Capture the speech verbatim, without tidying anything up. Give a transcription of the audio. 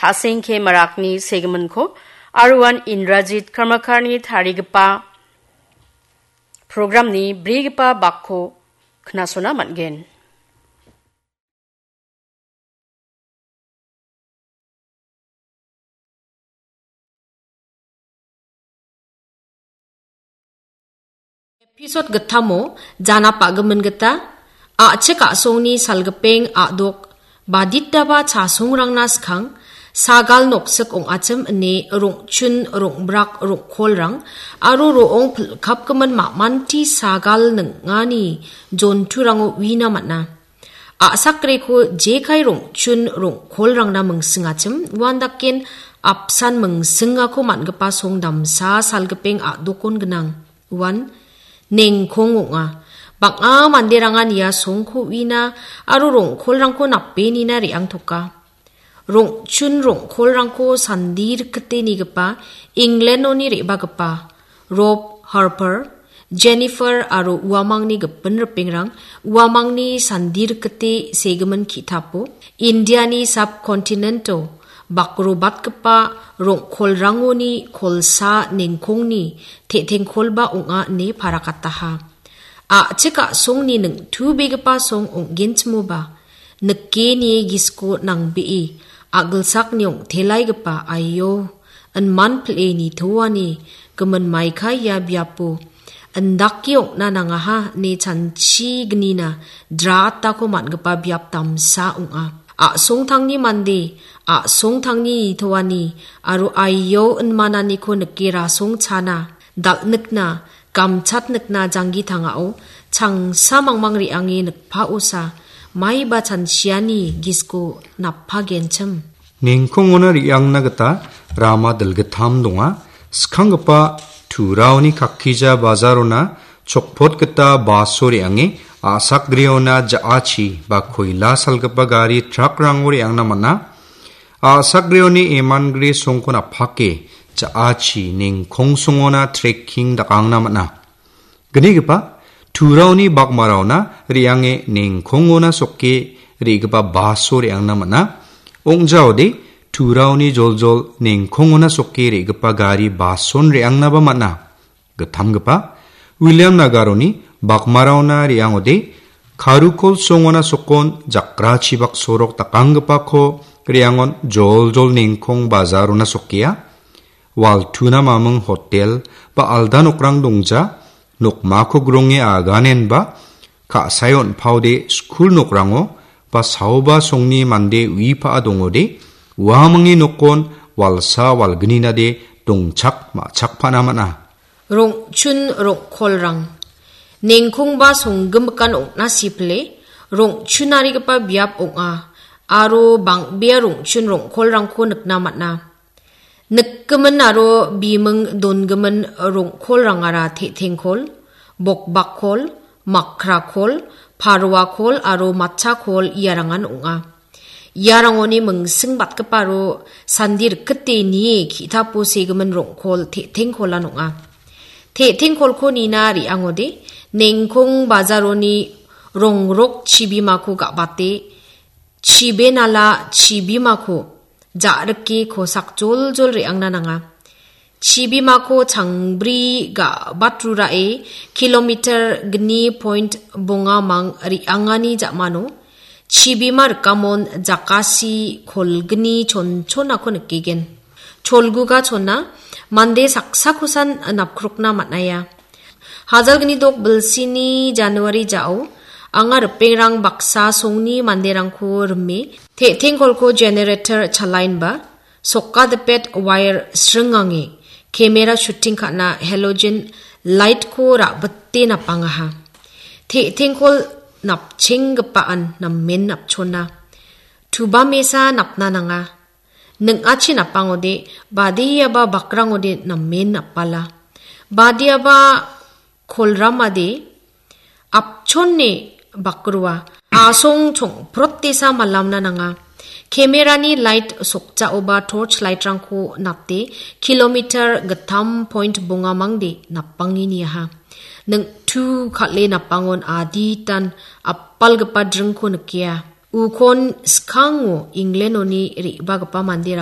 Aseng K Marakni segiminko aro uan Indrajit Karmakarni tarigipa programni brigipa bakko knasona man·gen. Episode gittamo jana pa·gimin gita, a·chik a·songni salgipeng a·dok baditaba chasongrangna skang, sagal noksik ong·achim ine rong·chun, rong·brak, rong·kolrang aro ro·ong pilkapgimin ma·manti sagal ning·ani jonturango uina man·a. A·sakreko jekai rong·chun rong·kolrangna mingsingachim, uandaken apsan mingsingako man·gipa song damsa salgipeng a·dokon gnang. Uan nengkong ong·a. Bang·a manderangan ia songko uina aro rong·kolrangko napenina re·angtoka. Rong·chun rong·kolrangko sandi rikite nigipa England-oni re·bagipa Rob Harper, Jennifer aro uamangni gipin ripengrang uamangni sandi rikite segimin ki·tapo Indiani subcontinent-o bakrobatgipa rong·kolrangoni kolsa nengkongni te·tengkolba ong·a ine parakataha. A·chik a·songni ningtubegipa song ong·genchimoba, nikeni gisko nangbee a·gilsakni ong·telaigipa aio, inman pil·e nitoani gimin maika ia biapo indake ong·na nangaha ine chanchi gnina dratako man·gipa biap damsa ong·a. A·songtangni mande, a·songtangni nitoani aro aio inmananiko nike rasong chana, dal·nikna, gamchatnikna janggi tangao changsa mangmang re·ange nikpaosa maiba chanchiani gisko nappagenchim. Nengkongona re·angna gita rama dilgittam donga. Skanggipa Turaoni kakkija bajarona chokpot gita baso re·ange a·sakgreona ja·achi ba koila salgipa gari trakrango re·angna man·a. A·sakgreoni emangre songkon apake ja·achi nengkongsongona trekking dakangna man·a. Gnigipa Turaoni bakmaraona re·ange nengkongona sokke re·gipa baso re·angna man·a. Ong·jaode Turaoni joljol nengkongona sokke re·gipa gari bason re·angnaba man·a. Gittamgipa William Nagaroni bakmaraona re·angode Karukol songona sokon jakrachibak sorok dakanggipako re·angon joljol nengkong bajarona sokea. Waltuna maming hotel ba alda nokrang dongja, nokmako gronge aganenba ka·sae on·paode skul nokrango ba saoba songni mande ui pa·a dongode, uamangni nokon walsa walgninade dongchak ma·chakpana man·a. Rong·chun rong·kolrang. Nengkongba songgimikan ong·na sipile, rong·chunarigipa biap ong·a, aro bang·bea rong·chun rong·kolrangko nikna man·a. Nikgimin aro biming dongimin rong·kolrangara te·tengkol, bokbakkol, makrakol, paruakol aro matchakol iarangan ong·a. Iarangoni mingsing batgipa aro sandi rikgite nie ki·tapo segimin rong·kol te·tengkolan ong·a. Te·tengkolko nina re·angode, nengkong bajaroni rongrok chibimako ga·bate, chibenala chibimako ja·rike kosak joljol re·angna nanga. Chibimako changbri ga·batrurae kilometer gni point bongamang re·angani ja·mano chibima rikamon jakasi kolgni chonchonako nikgen. Cholguga chona mande saksakosan napkrokna man·aia. Hajalgni dok bilsini January ja·o anga ripengrang baksa songni manderangko rime te·tengkolko generator chalaenba sokadipet wire sringange camera shooting ka·na halogen light-ko ra·bite napangaha. Te·tengkol napchenggipaan namen napchona. Tuba mesa napna nanga. Ning·achi napangode, badiaba bakrangode namen napbala. Badiaba kolramade apchone bakrua. Asong chongprotesa malamna nanga. Camera-ni light sokjaoba torch light-rangko nate kilometer gittam point bongamangde napange niaha. Ning·tu kal·e napangon aditan apalgipa dringko nikea. Ukon skango England-oni re·bagipa manderang